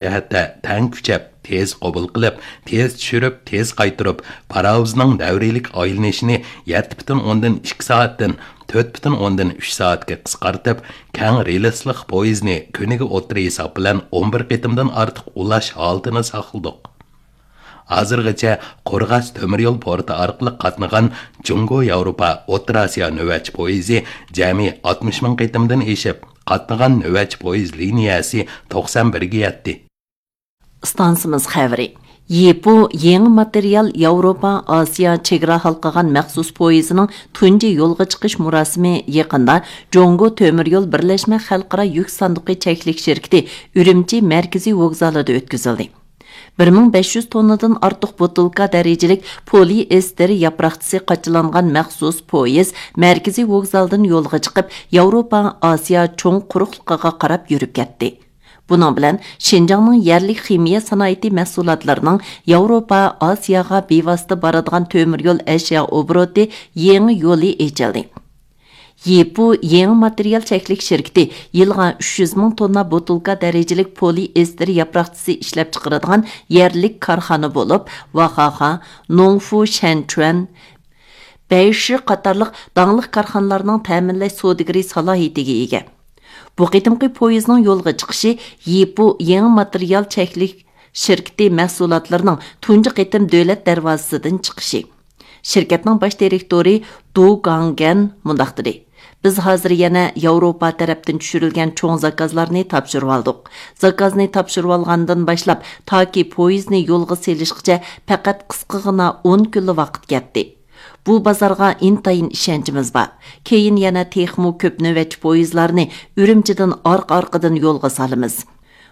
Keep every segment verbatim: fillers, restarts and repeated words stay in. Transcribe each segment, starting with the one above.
جەھەتتە تەڭ كۈچەپ، تېز قوبۇل قىلىپ، تېز چۈشۈرۈپ، تېز قايتۇرۇپ، پاراۋۇزنىڭ دەۋرىيلىك ئايلىنىشىنى يەتتە پۈتۈن ئوندىن ئىككى سائەتتىن تۆت پۈتۈن ئوندىن ئۈچ سائەتكە قىسقارتىپ، كەڭ رېلىسلىق پويىزنى كۈنىگە ئوتتۇرا ھېساب بىلەن ئون بىر قېتىمدىن ئارتۇق ئۇلاش ھالىتىنى ساقلىدۇق. ھازىرغىچە قورغاس تۆمۈر يول پورتى ئارقىلىق قاتنىغان جۇڭگو ياۋروپا ئوتتۇرا ئاسىيا نۆۋەتچى پويىزى جەمئىي ئاتمىش مىڭ قېتىمدىن ئېشىپ، قاتنىغان نۆۋەتچى پويىز لىنىيەسى توقسان بىرگە يەتتى. ئىستانسىمىز خەۋىرى. يىپۇ يېڭى ماتېرىيال ياۋروپا ئاسىيا چېگرا ھالقىغان مەخسۇس پويىزىنىڭ تۇنجى يولغا چىقىش مۇراسىمى يېقىندا جۇڭگو تۆمۈر يول بىرلەشمە خەلقئارا يۈك ساندۇقى چەكلىك شىركىتى ئۈرۈمچى مەركىزىي ۋوگزالىدا ئۆتكۈزۈلدى. بىر مىڭ بەش يۈز توننىدىن ئارتۇق بوتۇلكا دەرىجىلىك پولىئېستېر ياپراقچىسى قاچىلانغان مەخسۇس پويىز مەركىزىي ۋوگزالدىن يولغا چىقىپ، ياۋروپا ئاسىيا چوڭ قۇرۇقلۇقىغا قاراپ يۈرۈپ كەتتى. بۇنىڭ بىلەن شىنجاڭنىڭ يەرلىك خىمىيە سانائىتى مەھسۇلاتلىرىنىڭ ياۋروپا، ئاسىياغا بىۋاسىتە بارىدىغان تۆمۈر يول ئەشيا ئوبوروتى يېڭى يولى ئېچىلدى. يىپۇ يېڭى ماتېرىيال چەكلىك شىركىتى يىلىغا ئۈچ يۈز مىڭ توننا بوتۇلكا دەرىجىلىك پولىئېستېر ياپراقچىسى ئىشلەپچىقىرىدىغان يەرلىك كارخانا بولۇپ، ۋاخاخا، نوڭفۇ شەنچۈەن، بەيشى قاتارلىق داڭلىق كارخانىلارنىڭ تەمىنلەش سودىگىرى سالاھىيىتىگە ئىگە. بۇ قېتىمقى پويىزنىڭ يولغا چىقىشى يىپۇ يېڭى ماتېرىيال چەكلىك شىركىتى مەھسۇلاتلىرىنىڭ تۇنجى قېتىم دۆلەت دەرۋازىسىدىن چىقىشى. شىركەتنىڭ باش دىرېكتورى دۇ گاڭگەن مۇنداق دېدى: بىز ھازىر يەنە ياۋروپا تەرەپتىن چۈشۈرۈلگەن چوڭ زاكازلارنى تاپشۇرۇۋالدۇق. زاكازنى تاپشۇرۇۋالغاندىن باشلاپ، تاكى پويىزنى يولغا سېلىشقىچە پەقەت قىسقىغىنا ئون كۈنلا ۋاقىت كەتتى. بۇ بازارغا ئىنتايىن ئىشەنچىمىز بار. كېيىن يەنە تېخىمۇ كۆپ نۆۋەتچى پويىزلارنى ئۈرۈمچىدىن ئارقا-ئارقىدىن يولغا سالىمىز.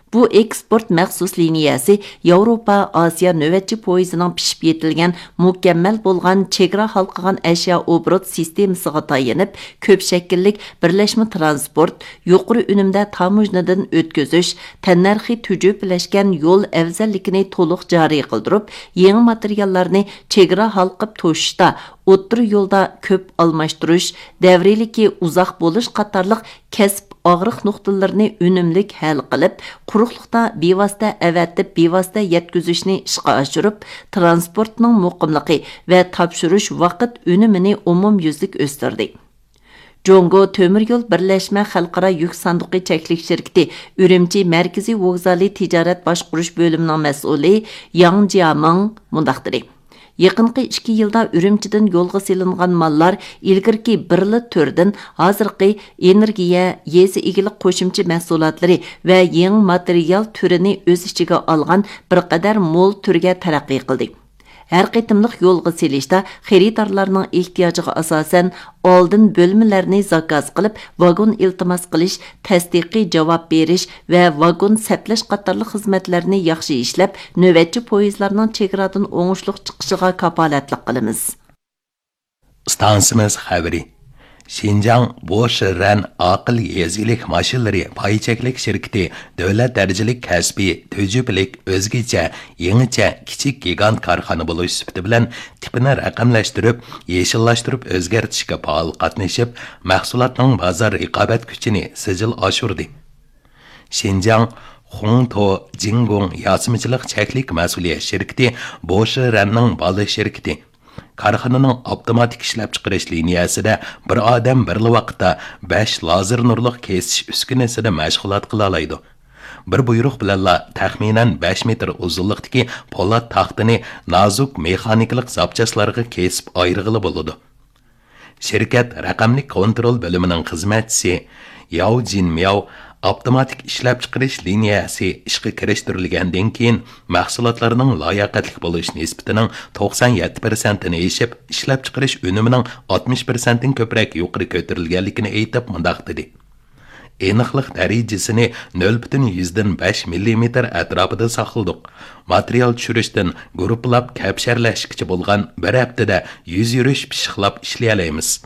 بۇ ئېكسپورت مەخسۇس لىنىيەسى ياۋروپا ئاسىيا نۆۋەتچى پويىزىنىڭ پىشىپ يېتىلگەن، مۇكەممەل بولغان چېگرا ھالقىغان ئەشيا ئوبوروت سىستېمىسىغا تايىنىپ، كۆپ شەكىللىك بىرلەشمە تىرانسپورت، يۇقىرى ئۈنۈمدە تاموژنىدىن ئۆتكۈزۈش، تەننەرخى تۈجۈپىلەشكەن يول ئەۋزەللىكىنى تولۇق جارى قىلدۇرۇپ، يېڭى ماتېرىياللارنى چېگرا ھالقىپ توشۇشتا، ئوتتۇرا يولدا كۆپ ئالماشتۇرۇش، دەۋرىيلىكى ئۇزاق بولۇش قاتارلىق كەسىپ ئاغرىق نۇقتىلىرىنى ئۈنۈملۈك ھەل قىلىپ، قۇرۇقلۇقتا بىۋاسىتە ئەۋەتىپ، بىۋاسىتە يەتكۈزۈشنى ئىشقا ئاشۇرۇپ، تىرانسپورتنىڭ مۇقىملىقى ۋە تاپشۇرۇش ۋاقىت ئۈنۈمىنى ئومۇميۈزلۈك ئۆستۈردى. جۇڭگو تۆمۈر يول بىرلەشمە خەلقئارا يۈك ساندۇقى چەكلىك شىركىتى ئۈرۈمچى مەركىزىي ۋوگزالى تىجارەت باشقۇرۇش بۆلۈمىنىڭ مەسئۇلى ياڭ جيامىڭ مۇنداق دېدى: يېقىنقى ئىككى يىلدا ئۈرۈمچىدىن يولغا سېلىنغان ماللار ئىلگىرىكى بىرلا تۈردىن ھازىرقى ئېنېرگىيە، يېزا ئىگىلىك قوشۇمچە مەھسۇلاتلىرى ۋە يېڭى ماتېرىيال تۈرىنى ئۆز ئىچىگە ئالغان بىر قەدەر مول تۈرگە تەرەققىي قىلدى. ھەر قېتىملىق يولغا سېلىشتا خېرىدارلارنىڭ ئېھتىياجىغا ئاساسەن، ئالدىن بۆلمىلەرنى زاكاز قىلىپ، ۋاگون ئىلتىماس قىلىش، تەستىقىي جاۋاب بېرىش ۋە ۋاگون سەپلەش قاتارلىق خىزمەتلەرنى ياخشى ئىشلەپ، نۆۋەتچى پويىزلارنىڭ چېگرادىن ئوڭۇشلۇق چىقىشىغا كاپالەتلىك قىلىمىز. ئىستانسىمىز خەۋىرى. شىنجاڭ بوشىرەن ئاقىل يېزا ئىگىلىك ماشىنىلىرى پاي چەكلىك شىركىتى دۆلەت دەرىجىلىك كەسپىي، تۈجۈپىلىك، ئۆزگىچە، يېڭىچە، كىچىك گىگانت كارخانا بولۇش سۈپىتى بىلەن تىپىنى رەقەملەشتۈرۈپ، يېشىللاشتۇرۇپ ئۆزگەرتىشكە پائال قاتنىشىپ، مەھسۇلاتنىڭ بازار رىقابەت كۈچىنى سىجىل ئاشۇردى. شىنجاڭ خۇڭتو جىڭگۇڭ ياسىمىچىلىق چەكلىك مەسئۇلىيەت شىركىتى بوشىرەننىڭ بالا شىركىتى. كارخانىنىڭ ئاپتوماتىك ئىشلەپچىقىرىش لىنىيەسىدە بىر ئادەم بىرلا ۋاقىتتا بەش لازېر نۇرلۇق كېسىش ئۈسكۈنىسىدە مەشغۇلات قىلالايدۇ. بىر بۇيرۇق بىلەنلا تەخمىنەن بەش مېتىر ئۇزۇنلۇقتىكى پولات تاختىنى نازۇك مېخانىكىلىق زاپچاسلارغا كېسىپ ئايرىغىلى بولىدۇ. شىركەت رەقەملىك كونترول بۆلۈمىنىڭ خىزمەتچىسى ياۋ جىنمياۋ ئاپتوماتىك ئىشلەپچىقىرىش لىنىيەسى ئىشقا كىرىشتۈرۈلگەندىن كېيىن، مەھسۇلاتلارنىڭ لاياقەتلىك بولۇش نىسبىتىنىڭ توقسان يەتتە پىرسەنتتىن ئېشىپ، ئىشلەپچىقىرىش ئۈنۈمىنىڭ ئاتمىش پىرسەنتتىن كۆپرەك يۇقىرى كۆتۈرۈلگەنلىكىنى ئېيتىپ، مۇنداق دېدى: ئېنىقلىق دەرىجىسىنى نۆل پۈتۈن يۈزدىن بەش مىللىمېتىر ئەتراپىدا ساقلىدۇق. ماتېرىيال چۈشۈرۈشتىن گۇرۇپپىلاپ كەپشەرلەشكىچە بولغان بىر ھەپتىدە يۈز يۈرۈش پىششىقلاپ ئىشلىيەلەيمىز.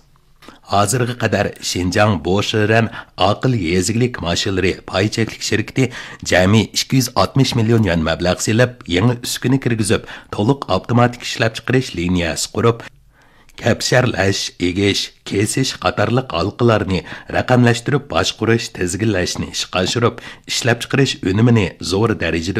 ھازىرغا قەدەر شىنجاڭ بوشىرەن ئاقىل يېزا ئىگىلىك ماشىنىلىرى پاي چەكلىك شىركىتى جەمئىي ئىككى يۈز ئاتمىش مىليون يۈەن مەبلەغ سېلىپ، يېڭى ئۈسكۈنە كىرگۈزۈپ، تولۇق ئاپتوماتىك ئىشلەپچىقىرىش لىنىيەسى قۇرۇپ، كەپشەرلەش، ئېگىش، كېسىش قاتارلىق ھالقىلارنى رەقەملەشتۈرۈپ باشقۇرۇش، تىزگىنلەشنى ئىشقا ئاشۇرۇپ، ئىشلەپچىقىرىش ئۈنۈمىنى زور دەرىجىدە